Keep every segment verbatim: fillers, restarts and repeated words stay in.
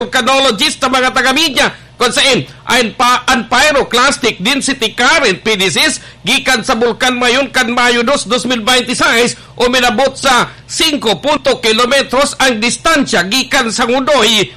volcanologist sa mga taga-media, kung sain an pa-, an pyroclastic density current, P D Cs, gikan sa Bulkan Mayon kan Mayo dos, dos mil bente y seis, uminabot sa singko punto kilometros ang distansya gikan sa ngudoy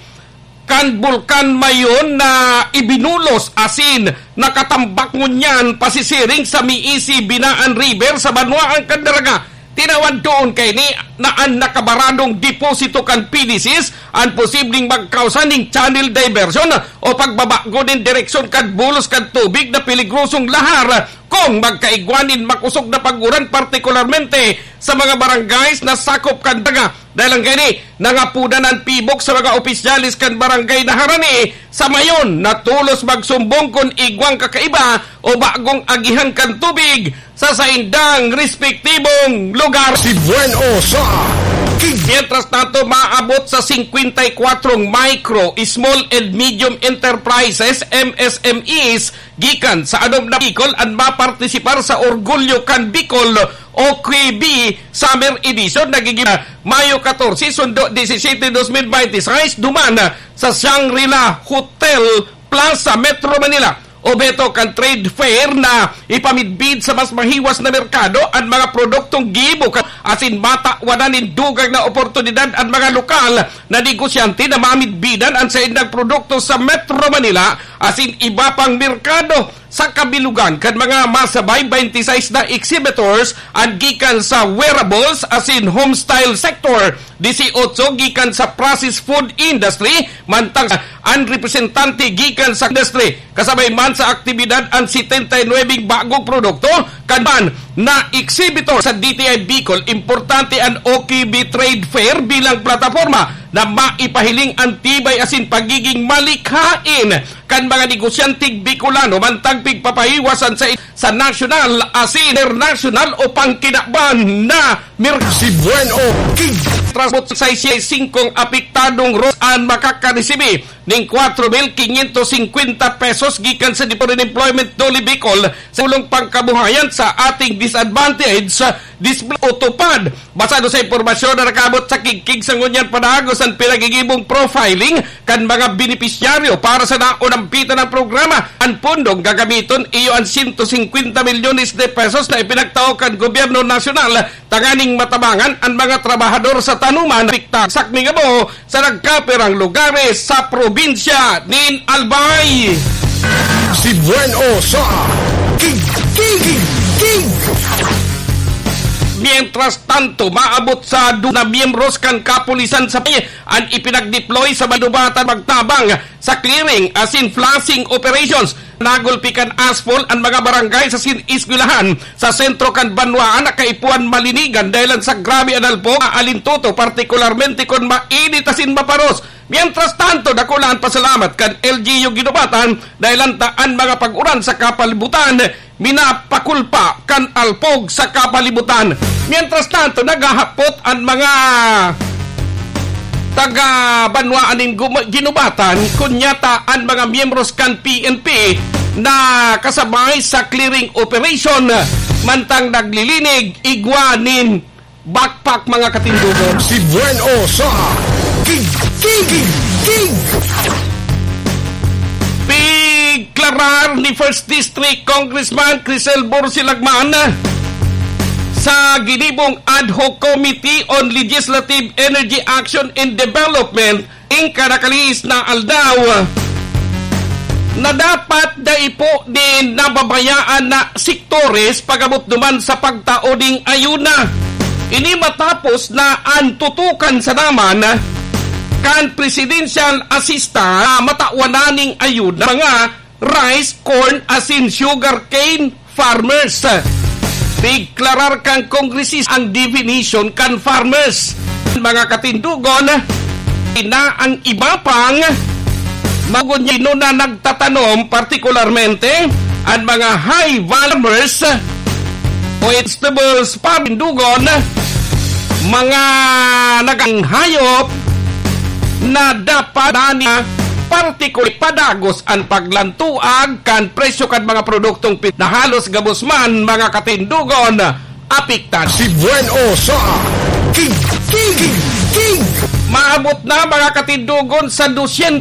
kan Bulkan Mayon na ibinulos asin nakatambak ngunyan pasisiring sa Miisi Binaan River sa banwaan kan Daraga. Tinawan doon kaini na an nakabaradong deposito kan P D Cs an posibleng magkausa ning channel diversion o pagbabago nin direksyon kan bulos kan tubig na peligrosong lahar kung magkaigwa nin makosog na pag-uran, partikularmente sa mga barangays na sakop kan Daraga. Dahil an kaini, nangapodan an pibok sa mga opisyales kan barangay na harani sa Mayon na tolos magsumbong kun igwang kakaiba o bagong agihan kan tubig sa saindang respektibong lugar. Si Buen O sa King. Mientras tanto, maabot sa singkwenta y kwatro micro, small and medium enterprises, M S M Es, gikan sa Adob na Bicol an mapartisipar sa Orgulyo kan Bicol, O K B, Summer Edition na gigib-, Mayo katorse, sundo disisete, dos mil bente y seis, duman sa Shangri-La Hotel Plaza, Metro Manila. Obheto kan trade fair na ipamidbid sa mas mahiwas na merkado an mga produktong gibo ka-, asin matawan nin dugang na oportunidad an mga lokal na negosyante na mamidbidan an saindang produkto sa Metro Manila asin iba pang merkado. Sa kabilugan kan mga masabay, bente y seis na exhibitors an gikan sa wearables asin home style sector, disiotso gikan sa processed food industry, mantang an representante gikan sa industry. Kasabay man sa aktibidad an setenta y nuwebeng bagong produkto, kan man na exhibitor sa D T I Bicol. Importante an O K B Trade Fair bilang plataporma na maipahiling an tibay asin pagiging malikhain kan mga negosyanteng Bicolano mantang pigpapahiwasan sa, sa nasyonal asin internasyonal o pangkinaban na merkado. Si Buen O King. Transport sa singkong apektadong ros an makakaresibi ning kwatro mil kinyentos singkwenta pesos gikan sa Department of Employment, DOLE Bicol, sa tulong pangkabuhayan sa ating disadvantaged display o TUPAD. Basado sa impormasyon na nakaabot sa kigkig sa ngunyan padagos an pinagigibong profiling kan mga benepisyaryo para sa naunampitan ng programa. An pondong gagamiton iyo an siyento singkwenta milyones de pesos na ipinagtao kan gobyerno nasyonal tanganing matabangan an mga trabahador sa tanuman na apekta sa kmingabo sa nagkapirang lugares sa probinsya nin Albay. Si Buen O sa King, King, King, King. Mientras tanto, maabot sa du-, na miyembros kan kapulisan sa Albay an ipinag-deploy sa Balubatan magtabang sa clearing asin flushing operations. Nagulpi kan asphalt an mga barangay asin eskwelahan sa sentro kan banwaan na kaipuhan malinigan dahilan sa grabe an alpog, alintuto, partikularmente kun mainit asin maparos. Mientras tanto, dakula an pasalamat kan L G U Guinobatan dahilan ta an mga pag-uran sa kapalibutan minapakulpa kan alpog sa kapalibutan. Mientras tanto, naghahapot an mga taga banwaan nin Guma-, Guinobatan, kunyata an mga miyembros kan P N P na kasabay sa clearing operation, mantang naglilinig igwa nin backpack, mga katindogon. Si Buen O sa King, King, King, King. Pigklarar ni First District Congressman Crisel Borsilagman sa ginibong Ad Hoc Committee on Legislative Energy Action and Development, Inka nakalihis na aldaw na dapat dai po nin nababayaan na sektores pag-abot duman sa pagtao ning ayuna. Ini matapos na an tutukan sa naman kan presidential assistant na matawan na ning ayuna mga rice, corn, asin sugarcane farmers. Pigklarar kan kongresista ang definition kan farmers. Mga katindogon, na ang iba pang magunyan na nagtatanom, partikularmente ang mga high farmers o vegetables, pamindugon, mga nagang hayop na dapat na partikul padagos an paglantuag kan presyo kan mga produktong pi-, na halos gabos man mga katindogon apektado. Si Buen O sa King, King, King, King. Maabot na, mga katindogon, sa dosyentos